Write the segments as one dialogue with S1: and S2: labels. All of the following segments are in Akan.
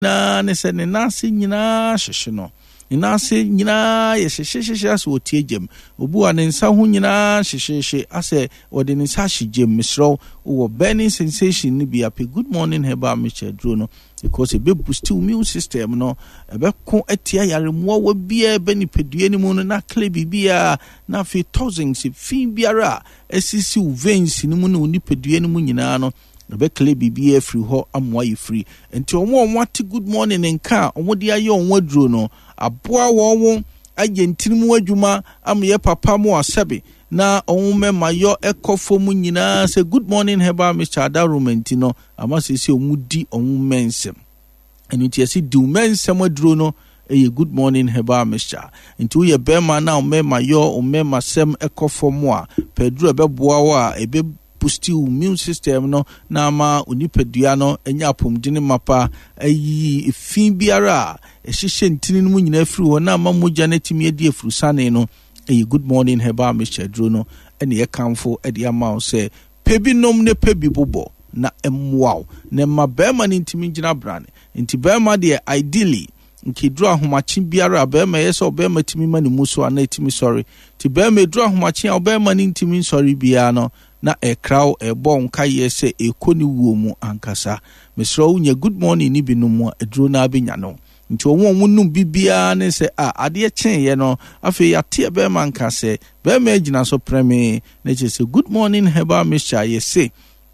S1: Nyinaa ne sɛ ne nan ase nyinaa hyehye no. Ne nan ase nyinaa yɛ hyehyehyehye asɛ ɔte gyam. Obi wɔ a ne nsa ho nyinaa hyehyehye asɛ ɔde ne nsa ahye gyam. Mesrɛ wo, wowɔ burning sensation no bi a, pɛ Good Morning Herbal Mixture aduro no because ɛbɛ boost wo immune system no, ɛbɛko atia yare mmoawa biara ɛbɛ nipadua no mu no na akle biribiara na afei toxins fi biara a asisi wo veins no mu ne wo nipadua no mu nyinaa no Ɛbɛkle biribiara afiri hɔ ama wayɛ firi. Nti wɔn a wɔate good morning nka a wɔde ayɛ wɔn aduro no, aboa wɔn ayɛ ntini mu adwuma ama yɛ papa mo asɛbe na wɔn mɛma yɔ ɛkɔ fam nyinaa sɛ good morning herbal mixture adaworoma nti no ama sɛsɛ wɔn di wɔn mmɛnsɛm. Ɛno nti yɛse di wo mmɛnsɛm aduro no ɛyɛ good morning herbal mixture. Nti woyɛ bɛrima na wo mmarima yɔ wo mmarima sɛm ɛkɔ fam a, pɛ aduro a ɛbɛboa wo a ɛbɛ boost wo immune system no na ama wo nipadua no anya apɔmuden mapa, ayiyi efi biara a ɛhyehyɛ ntini no mu nyinaa firi hɔ na ama mogya no atumi adi afurusane no. Ɛyɛ good morning herbal mixture aduro no ɛna yɛkamfo ɛde ama wo sɛ Pɛ bi nom ne pɛ bi bobɔ na ɛmmoa wo na ɛma barima no ntumi ngyina brane. Nti barima deɛ ideally nka ɛduru ahomakye biara a barima ɛyɛ sɛ ɔbarima tumi ma ne mu so anaa ɛtumi sɔre. Nti barima ɛduru ahomakye a ɔbarima no ntumi nsɔre biara no na ɛkra wo ɛrebɔ wo nkaeɛ sɛ ɛrekɔ ne wuo mu ankasa. Mesrɛ wo nya good morning no bi nom a aduro no ara bɛnya no. Nti wɔn a wɔnom bi biara ne sɛ a adeɛ kyeeɛ no afei yɛate ɛbɛrima nka sɛ bɛrima agyina so prɛmee na kyerɛ sɛ good morning herbal mixture a yɛse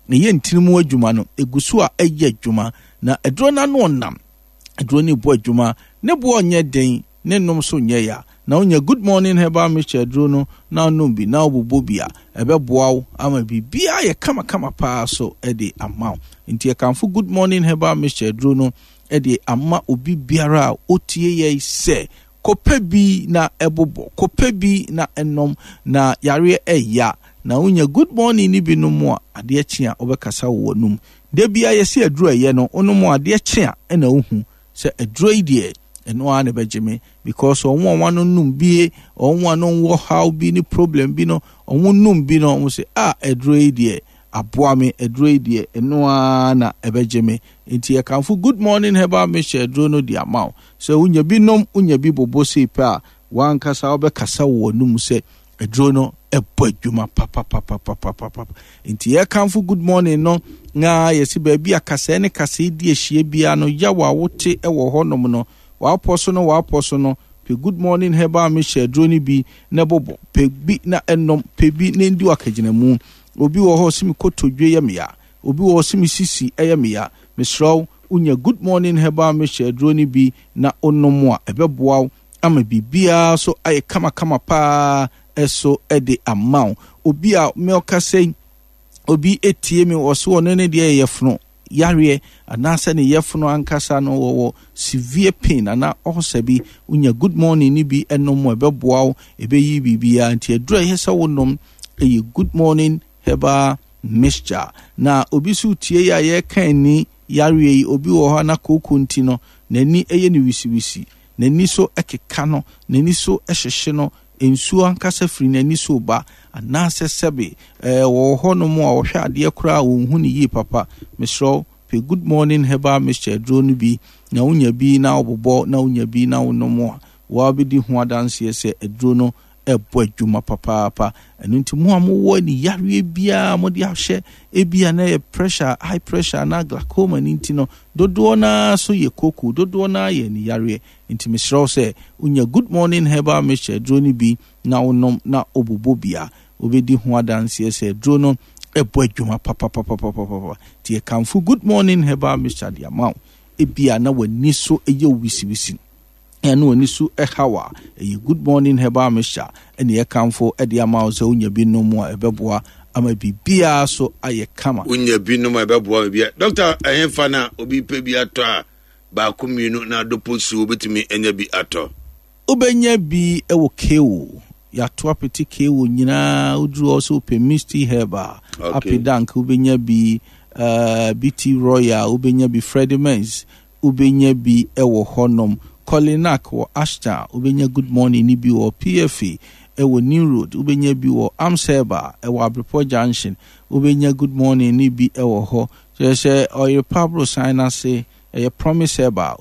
S1: ɛyɛ ntini mu adwuma no ɛgu so a ɛyɛ adwuma na aduro no ano ɔnam aduro no bɔ adwuma ne boɔ nyɛ den ne nom so nyɛ ya na wonya good morning herbal mixture aduro no na wonom bi na wobobɔ bi a ɛbɛboa wo ama biribiara yɛ kamakama paa so de ama wo nti yɛkamfo good morning herbal mixture aduro no de ama obi biara a ɔtie yɛn sɛ, Kɔpɛ bi na bobɔ, kɔpɛ bi na nom, na yareɛ ɛya. Na wonya good morning no bi nom a, adeɛ kye a wobɛkasa wɔ w'anum. Da biara yɛse aduro a ɛyɛ no, wonom a adeɛ kye a ɛna wohu sɛ aduro yi deɛ ɛno ara na ɛbɛgye me because wɔn a wɔn nom bie, wɔn a no wɔ haw bi ne problem bi no, wɔn nom bi no, wɔn sɛ ah aduro yi deɛ aboa me, aduro yi deɛ ɛno ara na ɛbɛgye me. Enti yɛkamfo Good Morning Herbal Mixture aduro no de ama wo. Sɛ wonya bi nom, wonya bi bobɔ sei pɛ a, w'ankasa wobɛkasa wɔ w'anum sɛ aduro no ɛbɔ adwuma papapapapapapa. Enti yɛkamfo Good Morning no na yɛsi baabi a kasɛɛ ne kasɛɛ di ahyia biara no, yaw a wote wɔ hɔnom no, w'apɔ so no w'apɔ so no, pɛ Good Morning Herbal Mixture aduro no bi na bobɔ, pɛ bi na ɛnom, pɛ bi na ɛndi w'akagyinamu. Obi wɔ hɔ ɔse me kotodwe yɛ me ya. Obi wɔ hɔ ɔse me sisi yɛ me ya. Mesrɛ wo, wonya Good Morning Herbal Mixture aduro no bi na wonom a, ɛbɛboa wo ama biribiara so ayɛ kamakama paa so de ama wo. Obi a me ɔkasa yi, obi tie me, ɔse ɔno ne deɛ yɛ yɛfono yareɛ anaasɛ ne yɛfono ankasa no wɔwɔ severe pain anaa ulcer bi, wonya Good Morning no bi nom a, ɛbɛboa wo, ɛbɛyi biribiara. Nti aduro a ɛyɛ sɛ wonom ɛyɛ Good Morning Herbal Mixture. Na obi so tie yi a yɛreka ani yareɛ yi, obi wɔ hɔ a na kooko nti no, n'ani yɛ no wisiwisi, n'ani so keka no, n'ani so hyehye no, nsuo ankasa firi n'ani so ba, anaasɛ sɛbe ɛɛ wɔwɔ hɔnom a wɔhwɛ adeɛ koraa a wɔnhu no yie papa. Mesrɛ wo, pɛ Good Morning Herbal Mixture aduro no bi na wonya bi na wobobɔ na wonya bi na wonom a, woabɛdi ho adanseɛ sɛ aduro no ɛbɔ adwuma papaapa. Ɛno nti mo a mowɔ ani yareɛ biara mode ahyɛ ebia na ɛyɛ pressure, high pressure anaa glaucoma no nti no, dodoɔ no ara so yɛ koko, dodoɔ no ara yɛ ani yareɛ. Nti mesrɛ wo sɛ wonya Good Morning Herbal Mixture aduro no bi na wonom na wobobɔ bi a, wobɛdi ho adanseɛ sɛ aduro no ɛbɔ adwuma papapapapapa. Nti yɛkamfo Good Morning Herbal Mixture de ama wo. Ebia na w'ani so yɛ wo wisiwisi. ɛne w'ani so haw a, ɛyɛ Good Morning Herbal Mixture ɛne yɛkamfo de ama wo sɛ wonya bi nom a ɛbɛboa ama biribiara so ayɛ kama.
S2: Wonya bi nom a ɛbɛboa biribiara. Dɔkta, ɛhefa na obi pɛ bi atɔ a baako mmienu na adopo su obetumi anya bi atɔ?
S1: Wobɛnya bi wɔ Kewo. Yɛato apete Kewo nyinaa. Woduru hɔ sɛ wopɛ Misty Herb a, okay. Apedank wobɛnya bi, uh, BT Royal wobɛnya bi, Freddie Men's wobɛnya bi wɔ hɔnom. Kolinak wɔ Ashtown, wobɛnya Good Morning no bi wɔ PFA wɔ New Road, wobɛnya bi wɔ Amseba wɔ Abrepɔ Junction, wobɛnya Good Morning no bi wɔ hɔ. Kyerɛ sɛ Ɔyerepa aborosan no ase, Ɛyɛ Promise Herbal.